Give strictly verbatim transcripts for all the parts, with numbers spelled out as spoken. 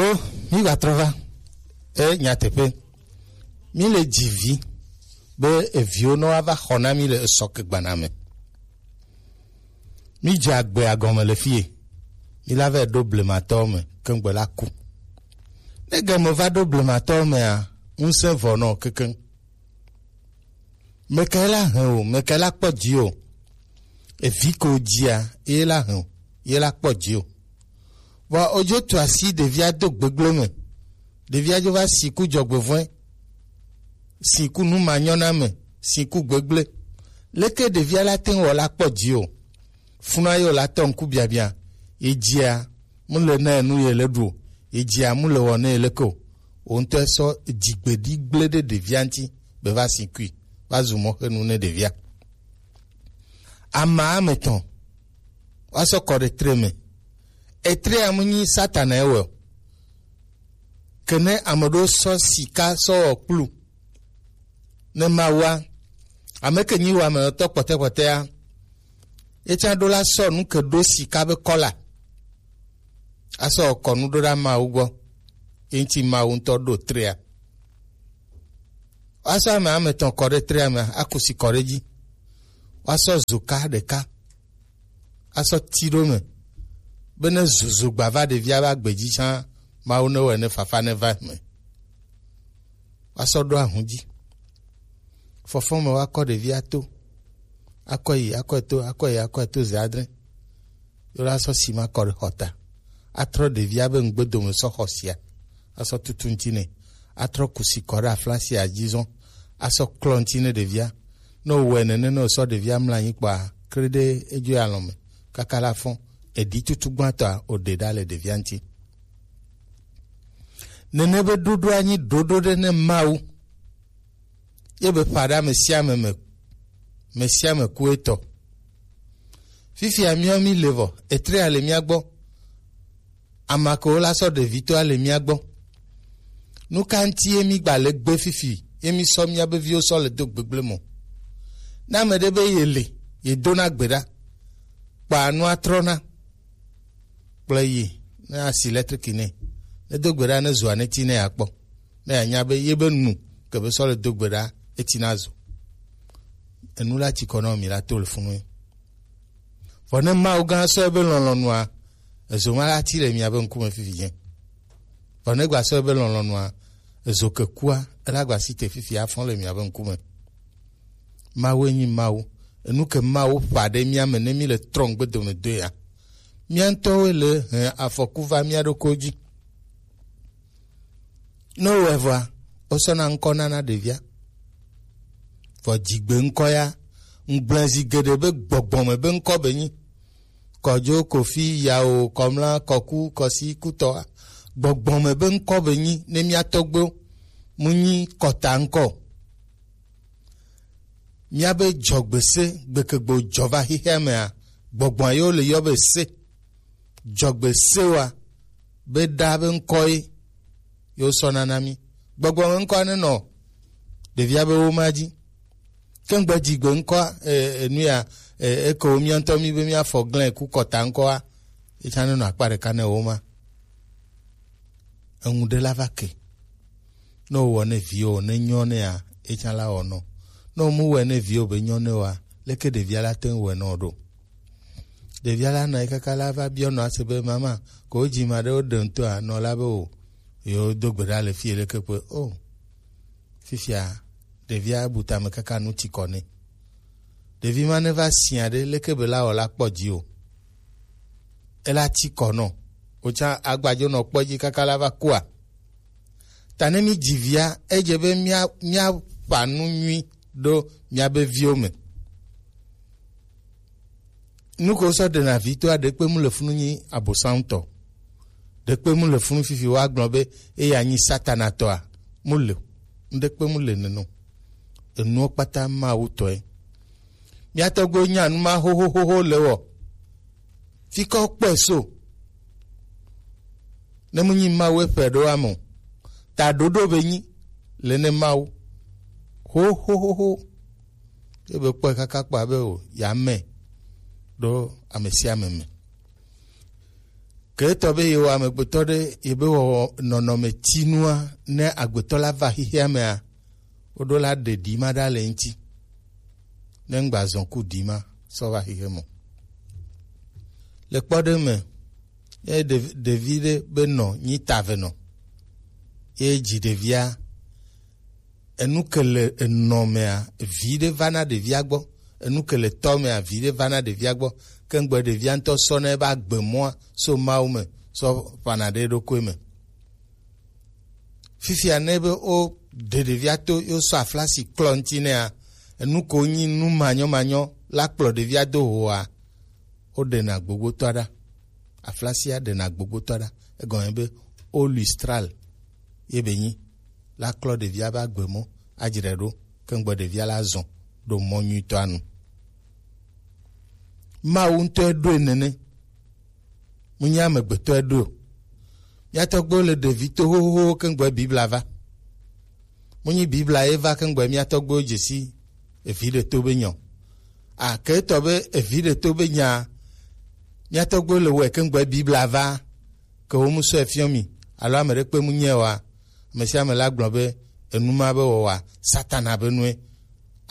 O, mi va trɔ va. E nyateƒe. Mi le dzi vi be eviwo nɔ ava xɔ na mi le esɔ ke gbana me. Mi dze agbe agɔme le fie. Mi la va ɖo blematɔwo me keŋgbe la ku. Ne game va ɖo blematɔwo mea, ŋusẽ vɔ nɔ kekeŋ. Mekae la hɛn o, mekae la kpɔ dzi o. Evi ko dzia, ye la hɛn o, ye la kpɔ dzi o. Vɔ odzo tu asi ɖevia do gbegblẽ me. Ɖevia dzo va si ku dzɔgbevɔ̃e, si ku nu manyɔname, si ku gbegblẽ. Leke ɖevia la te ŋu wɔ la kpɔ dzi o? Funa ye wòla tɔ ŋku biabia. Ye dzia, mu le na enu ye le ɖu o. Ye dzia, mu le wɔ ne ye leke o. Wo ŋutɔ sɔ dzigbeɖi gblẽ ɖe ɖevia ŋuti be va si kui, va zu mɔxenu ne ɖevia. Ama ame etɔ̃, woasɔ kɔ ɖe tre me. Etrea mu nyi Satana ye wɔ o. Ke ne ame ɖewo sɔ sika sɔ wɔ kplu ne Mawua, ame ke nyi wɔ ame etɔ̃ kpɔtɛkpɔtɛa, ye tsã ɖo la sɔ nu ke ɖo sika be kɔla. Asɔ kɔ nu ɖo ɖa Mawu gbɔ. Ye ŋuti Mawu ŋutɔ ɖo trea. Woasɔ ame ame etɔ̃ kɔ ɖe trea me, aku si kɔ ɖe edzi. Woasɔ zoka ɖeka asɔ ti ɖo me, be ne zozo gba va ɖevia be agbe dzi tsã, Mawu ne wɔe ne fafa ne va me. Woasɔ ɖo ahun dzi. Fɔfɔ me woakɔ ɖevia to, akɔ yi, akɔe to, akɔ yi, akɔe to ze adre. Ye la sɔ sima kɔ ɖe xɔta. Atrɔ ɖevia be ŋgbedome sɔ xɔ sia. Asɔ tutu ŋuti nɛ. Atrɔ kusi kɔ ɖe aflasia dzi zɔn. Asɔ klɔ ŋuti ne ɖevia. Ne wòwɔe nene ne wòsɔ ɖevia mlɔ anyi kpɔa, kre ɖe edzo yi alɔme. Kaka la fɔn. Eɖi tutu gbãtɔa, wòɖe ɖa le ɖevia ŋuti. Nene be ɖoɖoa nyi ɖoɖo ɖe ne Mawu. Ye be ƒa ɖe ame sia ame me, ame sia ame ku etɔ. Fifia míawo mi le vɔ, etrea le mía gbɔ. Ame kewo la sɔ ɖevitɔa le mía gbɔ. Nu ka ŋuti ye mi gba le gbe fifi, ye mi sɔ mía be viwo sɔ le do gbegblẽ mɔ? Ne ame ɖe be ye le, ye dona gbe ɖa, kpa nua trɔna. Kplɔe yi, ne asi lɛtriki nɛ. Ne do gbe ɖa, ne zoa ne ti ne akpɔ. Ne anya be ye be nu ke be sɔ le do gbe ɖa, eti na zo. Enu la tsi kɔ na mi la to le funu. Vɔ ne Mawu gã sɔ ebe lɔlɔ̃nua, ezo ma la ti le mia be ŋkume fifi dze. Vɔ ne gba sɔ ebe lɔlɔ̃nua, ezo ke kua, ela gba si te fifi afɔ le mia be ŋkume. Mawu enyi Mawu. Enu ke Mawu ƒã ɖe mía me ne mí le trɔ ŋgbe dome doea, mía ŋutɔwoe le hẽ afɔku va mía ɖokuiwo dzi. Ne wowɔe vɔa, wosɔna ŋkɔ nana ɖevia. Vɔ dzigbe ŋkɔ ya, ŋgblẽ zi geɖe be gbɔgbɔ me be ŋkɔ be nyi. Kɔdzo, Kofi, Yawo, Kɔmla, Kɔku, Kɔsi, Kutɔa. Gbɔgbɔ me be ŋkɔ be nyi ne mía tɔgbewo. Mu nyi kɔta ŋkɔ o. Míabe dzɔgbese gbekegbe jɔ va xexea mea, gbɔgbɔa yewo le yɔ be se. Dzɔgbesewoa be ɖa be ŋkɔ ye yewo sɔ nana mí. Gbɔgbɔ me ŋkɔa nenɔ ɖevia be woma dzi. Ke ŋgbe dzigbe ŋkɔa, e, e, nu ya, e, eke wo mía ŋutɔ mí be míafɔ glẽ ku kɔta ŋkɔa, etsã nenɔ akpa ɖeka ne woma. Eŋu ɖe la va ke. Ne wowɔ ne viwo, ne nyɔ nɛa, etsã la wɔ nɔ. Ne womu wɔe ne viwo be nyɔ ne woa, leke ɖevia la te ŋu wɔe nɔ ɖo? Ɖevia la nɔ anyi kaka la va biɔ nɔa se be, "Mama, ko wodzi ma ɖe wo ɖe ŋutɔa?" Nɔ la be, "O, yewo do gbe ɖa le fie leke kpe." O, fifia, ɖevia bu tame kaka nu ti kɔ nɛ. Ɖevi ma ne va sia ɖe, leke be la wɔ la kpɔ dzi o. Ela ti kɔ nɔ. Wotsa agbadzo nɔ kpɔ dzi kaka la va kua. Ta ne mi dzi via, edze be mía, mía ƒa nu nyui ɖo mía be viwo me. Nu ko sɔ ɖena vi toa, ɖekpe mu le funu nyi Abosam tɔ. Ɖekpe mu le funu fifi woagblɔ be eya nyi Satana tɔa. Mu le. Ŋɖekpe mu le neno. Enuwo kpata Mawu tɔe. Mía tɔgbuiwo nya nu ma xoxoxoxo le wɔ. Fi kɔ kpɔe so. Ne mu nyi Mawu eƒe ɖo ame o. Ta ɖoɖo be nyi le ne Mawu. Xoxoxoxo. Ebe kpɔe kaka kpɔ abe o, ya me ɖo ame sia ame me. Ke etɔ be yewo amegbetɔ ɖe yebe wɔ nɔnɔme tinua, ne agbetɔ la va xexea mea, woɖo la ɖe ɖi ma ɖa le ŋuti. Ne ŋgba zɔn ku ɖi ma sɔ va xexe mɔ. Le kpɔɖe me, ye ɖevi ɖe be nɔ nyi ta ve nɔ. Ye dzi ɖevia, enu ke le enɔ mea, vi ɖe va na ɖevia gbɔ. Enu ke le tɔ mea, vi ɖe va na ɖevia gbɔ. Ke ŋgbe ɖevia ŋutɔ sɔ na ebe agbe mɔa so Mawu me sɔ ƒana ɖe eɖokui me. Fifia ne be wo ɖe ɖevia to yo sɔ aflasi klɔ ŋuti nɛa, enu ko nyi nu manyɔmanyɔ la kplɔ ɖevia do hoa, wo ɖena gbogbotɔa ɖa. Aflasia ɖena gbogbotɔa ɖa. Egɔme be o lustral ye be nyi la klɔ ɖevia be agbe mɔ adzre ɖo, ke ŋgbe ɖevia la zɔn ɖo mɔ nyuitɔa nu. Mawu ŋutɔe ɖoe nene. Mu nyi amegbetɔe ɖo. Mía tɔgbuiwo le ɖevi to xoxoxo ke ŋgbe Biblia va. Mu nyi Biblia ye va ke ŋgbe mía tɔgbuiwo dze si evi ɖe to be nyɔ. A ke etɔ be evi ɖe to be nya, mía tɔgbuiwo le wɔe ke ŋgbe Biblia va. Ke wo mu sɔe fiɔ mi, alo ame ɖe kpe mu nyɛ wa, ame sia ame la gblɔ be enu ma be wɔwa, Satana be nue.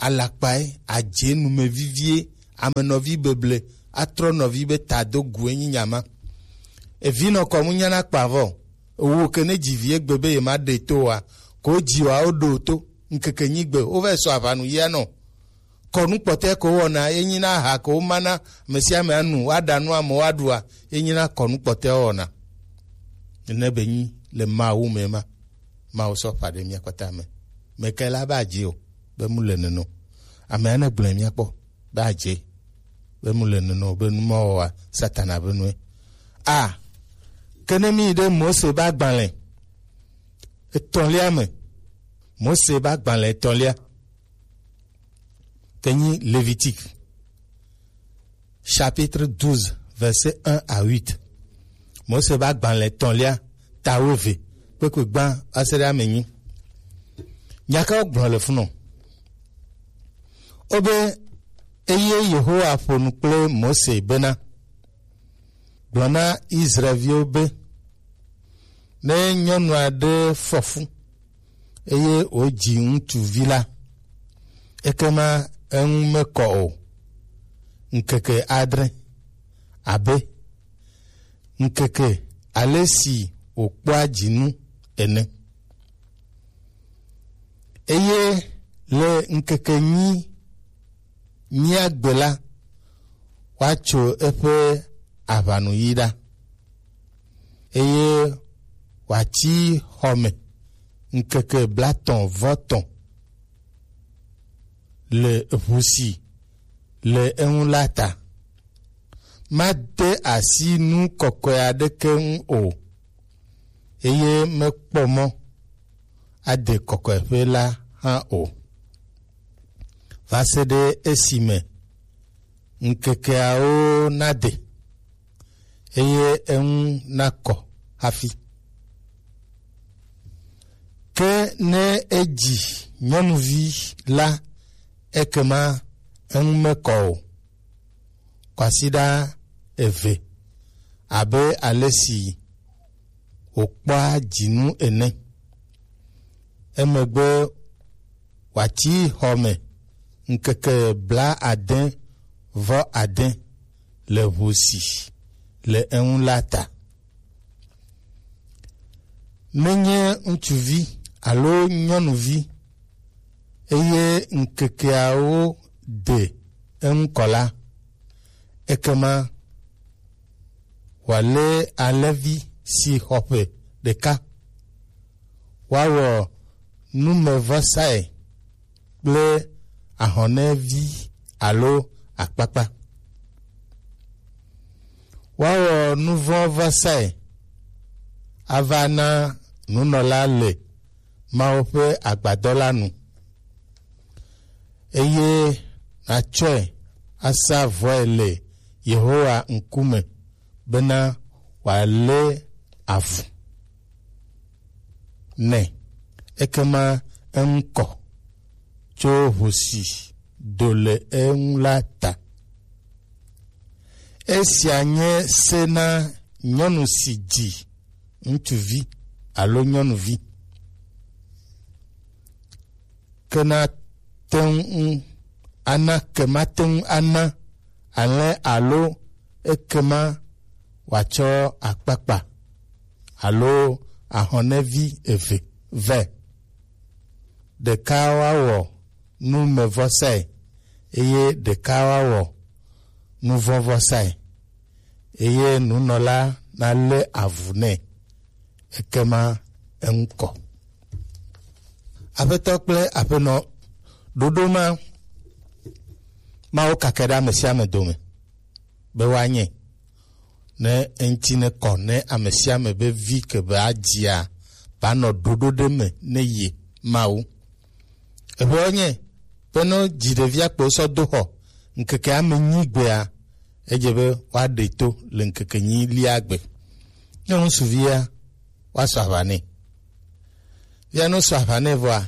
Alakpae, adze numevivie, ame nɔvi beble, atrɔ nɔvi be ta do gu enyi nya ma. Evi nɔ kɔ mu nyana kpa vɔ. Ewo ke ne dzi vi egbe be ye ma ɖe to wa, ko dzi wa wo ɖo to, ŋkeke nyigbe, wo va sɔ aʋanu yia nɔ. Kɔnu kpɔtɛ ko wɔna, ye nyina aha ko mana ame sia ame anu, woaɖa nu amewo aɖua, ye nyina kɔnu kpɔtɛ wɔna. Nene be nyi le Mawu me ma. Mawu sɔ ƒa ɖe mía kpata me. Meke la ba dze o, be mu le neno. Ame ane gblɔe mía kpɔ, ba dze, be mu le neno, be nu ma wɔa, Satana be nue. A, ke ne mi ɖe Mose ba gbalẽ etɔ̃lia me, Mose ba gbalẽ etɔ̃lia, ke nyi Lévitique, chapitre douze, verset un à huit. Mose ba gbalẽ etɔ̃lia, ta wuieve, kpekpe gbã va se ɖe ame enyi. Nya ka wogblɔ le funu? Wobe, eye Yehowa ƒo nu kple Mose bena, gblɔ na Israelviwo be, ne nyɔnu aɖe fɔ fu, eye wòdzi ŋutsuvi la, ekema eŋu mekɔ o ŋkeke adre, abe ŋkeke ale si wòkpɔa dzinu ene. Eye le ŋkeke enyi mía gbe la, woatso eƒe aʋanuyi ɖa, eye wòatsi xɔ me ŋkeke blatɔ̃ vɔ tɔ̃ le ʋu si le eŋu la ta. Made asi nu kɔkɔe aɖeke ŋu o, eye mekpɔ mɔ ade kɔkɔeƒe la hã o, va se ɖe esime ŋkekeawo nade, eye eŋu nakɔ hafi. Ke ne edzi nyɔnuvi la, ekema eŋu mekɔ o. Kwasiɖa eve, abe ale si wòkpɔa dzinu ene. Emegbe wòatsi xɔ me ŋkeke blaade vɔ ade le ʋu si le eŋu la ta. Menye ŋutsuvi alo nyɔnuvi, eye ŋkekeawo de eŋu kɔ la, ekema wòalé alẽvi si xɔ ƒe ɖeka, woawɔ numevɔsae kple ahɔnɛvi alo akpakpa. Woawɔ nuvɔ̃vɔsae ava na nunɔla le Mawu ƒe agbadɔ la nu, eye nàtsɔe asa vɔe le Yehowa ŋkume bena wòalé avu nɛ. Ekema eŋu kɔ tso ʋu si do le eŋu la ta. Esia nye se na nyɔnu si dzi ŋutsuvi alo nyɔnuvi. Ke na te ŋu ana, ke ma te ŋu ana alẽ alo ekema wòatsɔ akpakpa alo ahɔnɛvi eve vɛ. Ɖeka woawɔ numevɔsae, eye ɖeka woawɔ nuvɔ̃vɔsae, eye nunɔla nalé avu nɛ, ekema eŋu kɔ. Aƒetɔ kple aƒenɔ, ɖoɖo ma Mawu kake ɖe ame sia ame dome be woanye, ne eŋuti ne kɔ ne ame sia ame be vi ke be adzia banɔ ɖoɖo ɖe me ne ye Mawu. Eƒe nye be ne dzi ɖevia kpo sɔ do xɔ ŋkeke ame nyi gbea, edze be woaɖe to le ŋkeke nyi lia gbe. Ne ŋutsuvia, woasɔ aʋa nɛ. Via ne wosɔ aʋa nɛ vɔa,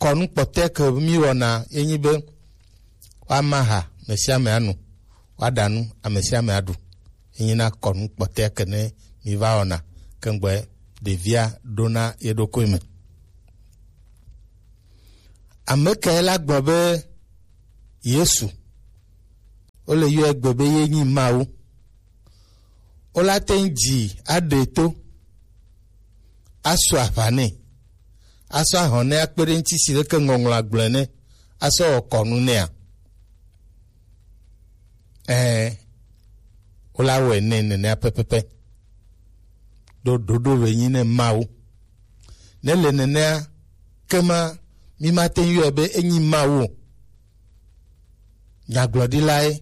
kɔnu kpɔtɔe ke mi wɔna ye nyi be woama ha ame sia ame anu, woaɖa nu ame sia ame aɖu. Ye nyi na kɔnu kpɔtɔe ke ne mi va wɔna ke ŋgbɔe ɖevia ɖona ye ɖokui me. Ame kae la gblɔ be Yesu, wole yɔe gbe be ye nyi Mawu? Wola te ŋu dzi aɖe to, asɔ aʋa nɛ, asɔ ahɔn nɛ akpe ɖe ŋuti si leke ŋɔŋlɔ agblɔe nɛ, asɔ wɔ kɔnu nɛa? Ɛɛ, wola wɔe nɛ nenea pɛpɛpɛ. Ɖo ɖoɖo be nyi ne Mawu. Ne le nenea, kema mi mate ŋu yɔe be enyi Mawu o. Nyagblɔɖilae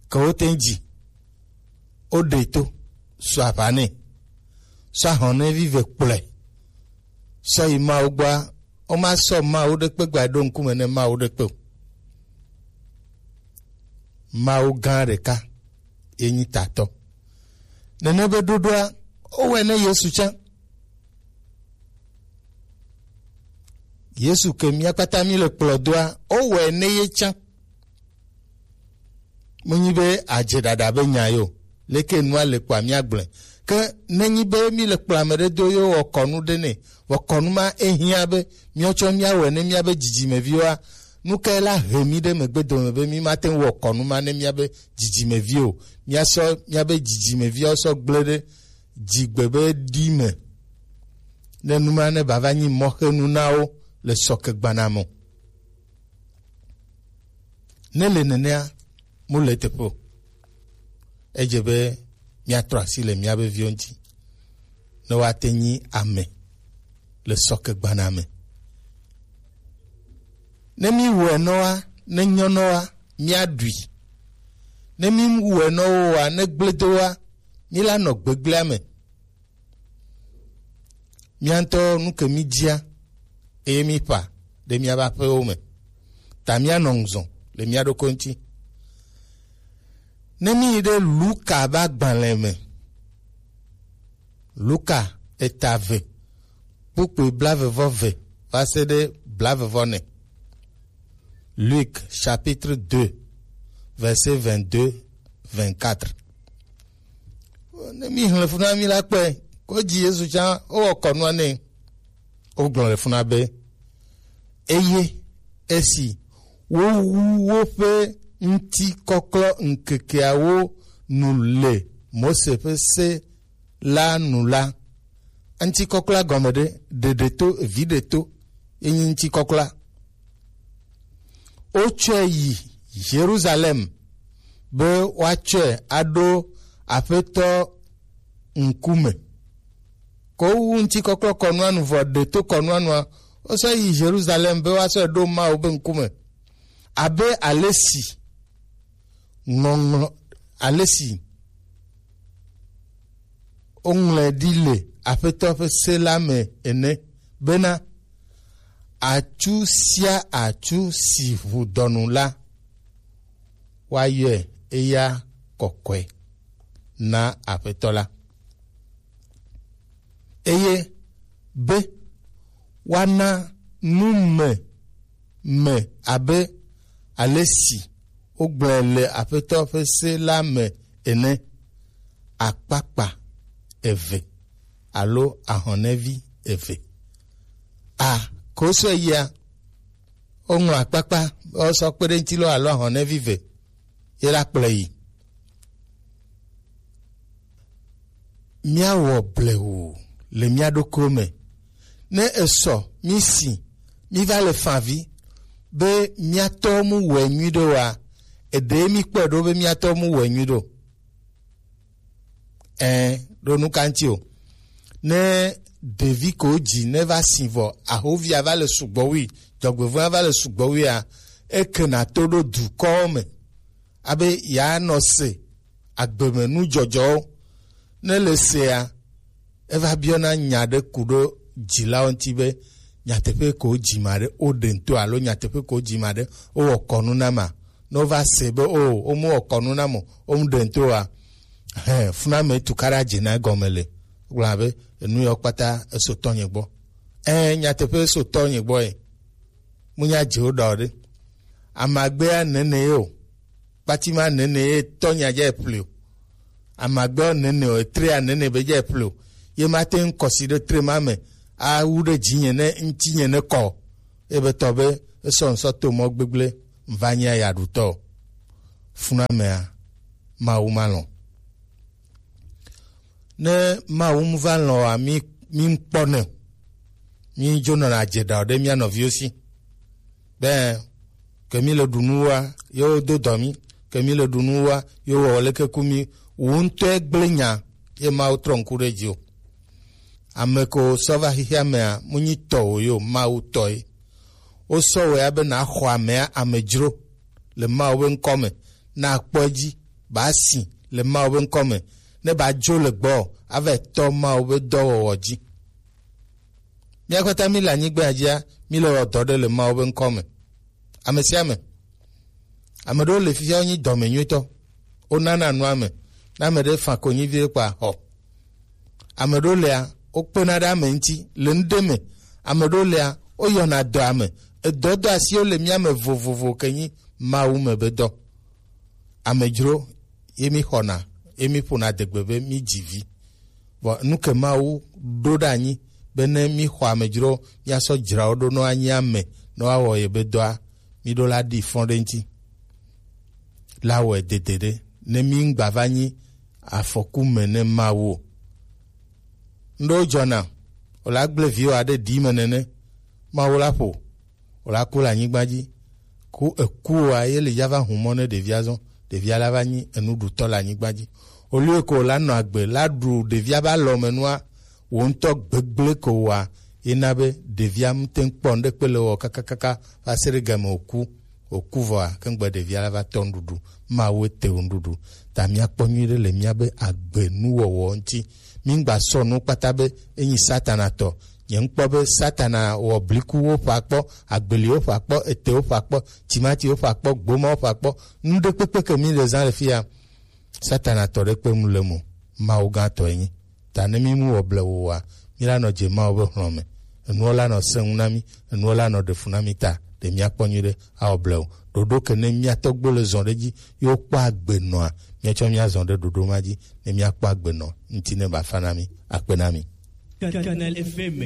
ke wote ŋu dzi, woɖe to, sɔ aʋa nɛ, sɔ ahɔnɛvi ve kplɔe, sɔ yi Mawu gbɔa, woma sɔ Mawu ɖekpe gba ɖo ŋkume ne Mawu ɖekpe o. Mawu gã ɖeka ye nyi tatɔ. Nene be ɖoɖoa, wowɔe ne Yesu tsã. Yesu ke mía kpata mí le kplɔ doa, wowɔe ne ye tsã. Menyi be adze ɖaɖa be nya yo, leke nua le kpɔa mía gblɔe. Ke nenyi be mí le kplɔ ame ɖe do ye wɔ kɔnu ɖe nɛ, vɔ kɔnu ma ehiã be míatsɔ míawɔe ne míabe dzidzimeviwoa, nu kae la he mí ɖe megbe dome be mí mate ŋu wɔ kɔnu ma ne míabe dzidzimevi o? Míasɔ míabe dzidzimeviawo sɔ gblẽ ɖe dzigbe be ɖi me, ne nu ma ne bava nyi mɔxenu na wo le sɔkegbana me o. Ne le nenea, mu le teƒe o. Edze be míatrɔ asi le míabe viwo ŋuti, ne woate nyi ame le sɔkegbana me. Ne míwɔe nɔa, ne nyɔ nɔa, míaɖui. Ne míwɔe nɔwoa, ne gblẽ do wa, míla nɔ gbegblẽa me. Mía ŋutɔ nu ke mí dzia, eye mí ƒã ɖe míaƒe aƒewo me. Ta mía nɔ ŋuzɔ le mía ɖokui ŋuti. Ne mí yi ɖe Luka ƒe agbalẽ me, Luka eta eve, kpukpui blaeve vɔ eve va se ɖe blaeve vɔ ene. Luc chapitre deux, verset vingt-deux, vingt-quatre. Ne mi hlẽ fu na mi la kpɔe, ko dzi Yesu tsã, wowɔ kɔnua nɛ. Wogblɔ le funa be, eye esi wowu woƒe ŋutikɔklɔ ŋkekeawo nu le Mose ƒe se la nu la, ŋutikɔklɔa gɔme ɖe, ɖeɖe to, vi ɖe to, ye nyi ŋutikɔklɔa. Wotsɔe yi Yerusalem be woatsɔe aɖo Aƒetɔ ŋkume. Ko wowu ŋutikɔklɔ kɔnua nu vɔ ɖe to kɔnua nua, wosɔ yi Yerusalem be woasɔe ɖo Mawu be ŋkume. Abe ale si ŋɔŋlɔ, ale si woŋlɔe ɖi le Aƒetɔ ƒe se la me ene, bena, atsu sia atsu si ʋu dɔnu la, woayɔe eya kɔkɔe na Aƒetɔ la. Eye be woana nu me, me abe ale si wogblɔe le Aƒetɔ ƒe se la me ene. akpakpa eve alo ahɔnɛvi eve. A, ko sɔ yia, woŋlɔ akpakpa, wosɔ kpe ɖe ŋuti lɔ alo ahɔnɛvi eve, ye la kplɔe yi. Míawɔ blewu le mía ɖokuiwo me. Ne esɔ, mí si, mí va le favi be mía tɔ mu wɛ nyui ɖo wa, eɖe mí kpɔe ɖo be mía tɔ mu wɛ nyui ɖo. Ɛɛ, ɖo nu ka ŋuti o. Ne ɖevi ko dzi ne va si vɔ, ahovia va le sugbɔ wui, dzɔgbevɔ̃a va le sugbɔ wuia, eke na to ɖo dukɔwo me. Abe yeanɔ se agbeme nu dzɔdzɔwo. Ne le sea, eva biɔna nya ɖe ku ɖo dzilawo ŋuti be, nyateƒe ko dzi ma ɖe, woɖe ŋto alo nyateƒe ko dzi ma ɖe, wowɔ kɔnu na ma. Ne wova se be o, womu wɔ kɔnu na mo, womu ɖe ŋto wa, hɛn, funa me tu kara dze na egɔme le. Gblɔ be, enu yɔ kpata eso tɔnye gbɔ. Ɛɛ, nyateƒe eso tɔnye gbɔ ye. Mu nya dze wo ɖɔ ɖe. Amagbea nene ye o. Kpatima nene ye tɔ nya dze ple o. Amagbea nene o, etrea nene be dze ple o. Ye ma te ŋkɔsi ɖe tre ma me. Awu ɖe dzinye ne ŋutinye ne kɔ. Ebe tɔ be esɔ ŋsɔ to mɔ gbegble va nya ya ɖutɔ. Funa mea, Mawu ma lɔn. Ne Mawu mu va lɔn wa, mi, mi ŋkpɔ ne. Mi dzo nɔna dze ɖa ɖe mía nɔviwo si. Be, ke mi le ɖu nu wa, yo do dɔ mi. Ke mi le ɖu nu wa, yo wɔ leke ku mi. Wo ŋutɔe gblẽ nya, ye Mawu trɔ ŋku ɖe dzi o. Ame ko sɔ va xexea mea, mu nyi tɔ o yo, Mawu tɔe. Wosɔ wɛ abe na xɔ amea amedzro le Mawu be ŋkɔ me, na kpɔ edzi, ba si le Mawu be ŋkɔ me, ne ba dzo le gbɔ, ava tɔ Mawu be dɔwɔwɔ dzi. Mía kpata mi le anyigba dzia, mi le wɔ dɔ ɖe le Mawu be ŋkɔ me. Ame sia ame. Ame ɖewo le fifia wonyi dɔme nyuitɔ. Wonana nu ame. Ne ame ɖe fa konyi vie kpa xɔ. Ame ɖewo lea, wokpena ɖe ame ŋuti le nu ɖe me. Ame ɖewo lea, woyɔna dɔ ame. Edɔ dɔ asiwo le mía me vovovo ke nyi Mawu me be dɔ. Amedzro ye mi xɔna, ye mi ƒona adegbe be mi dzi vi. Vɔ nu ke Mawu ɖo ɖe anyi be ne mi xɔ amedzro, mia sɔ dzra wo ɖo nɔ anyi ame nɔ awɔ ye be dɔa, mi ɖo la ɖi fɔn ɖe ŋuti. La wɔe dede ɖe ne mi ŋgba va nyi afɔku me ne Mawu o. Ŋɖewo dzɔna, wòla gblẽ viwò aɖe ɖi me nene, Mawu la ƒo, wòla ku le anyigba dzi. Ku eku wa ye li ya va hu mɔ ne ɖevia zɔn, ɖevia la va nyi enuɖutɔ le anyigba dzi. Olio ko la nɔ agbe la ɖu ɖevia ba lɔ me nua, wo ŋutɔ gbegblẽ ko wa ye na be ɖevia ŋute ŋkpɔ ŋɖe kpe le wɔ kakakaka va se ɖe game wòku. Wòku vɔa, kengbe ɖevia la va tɔ nuɖuɖu. Mawu ete wo nuɖuɖu. Ta míakpɔ nyuiɖe le míabe agbe nuwɔwɔ ŋuti. Míŋgba sɔ nu kpata be enyi Satana tɔ. Nye ŋkpɔ be Satana wɔ blikuwo ƒe akpɔ, agbeliwo ƒe akpɔ, etewo ƒe akpɔ, timatiwo ƒe akpɔ, gbomawo ƒe akpɔ. Nu ɖe kpekpe ke mi le zã le fia, Satana tɔ ɖe kpe nu le mo. Mawu gã tɔ enyi. Ta ne mi mu wɔ blewu wa, mi la nɔ dze Mawu be hlɔ̃ me. Enuwo la nɔ sẽ ŋu na mi, enuwo la nɔ ɖe fu na mi ta, ɖe míakpɔ nyuiɖe awɔ blewu. Ɖoɖo ke ne mía tɔgbo le zɔn ɖe dzi, yo kpɔ agbe nɔa, míatsɔ mía zɔn ɖe ɖoɖo ma dzi, ne míakpɔ agbe nɔ, ŋuti ne ba fa na mi, akpe na mi. Canal F M.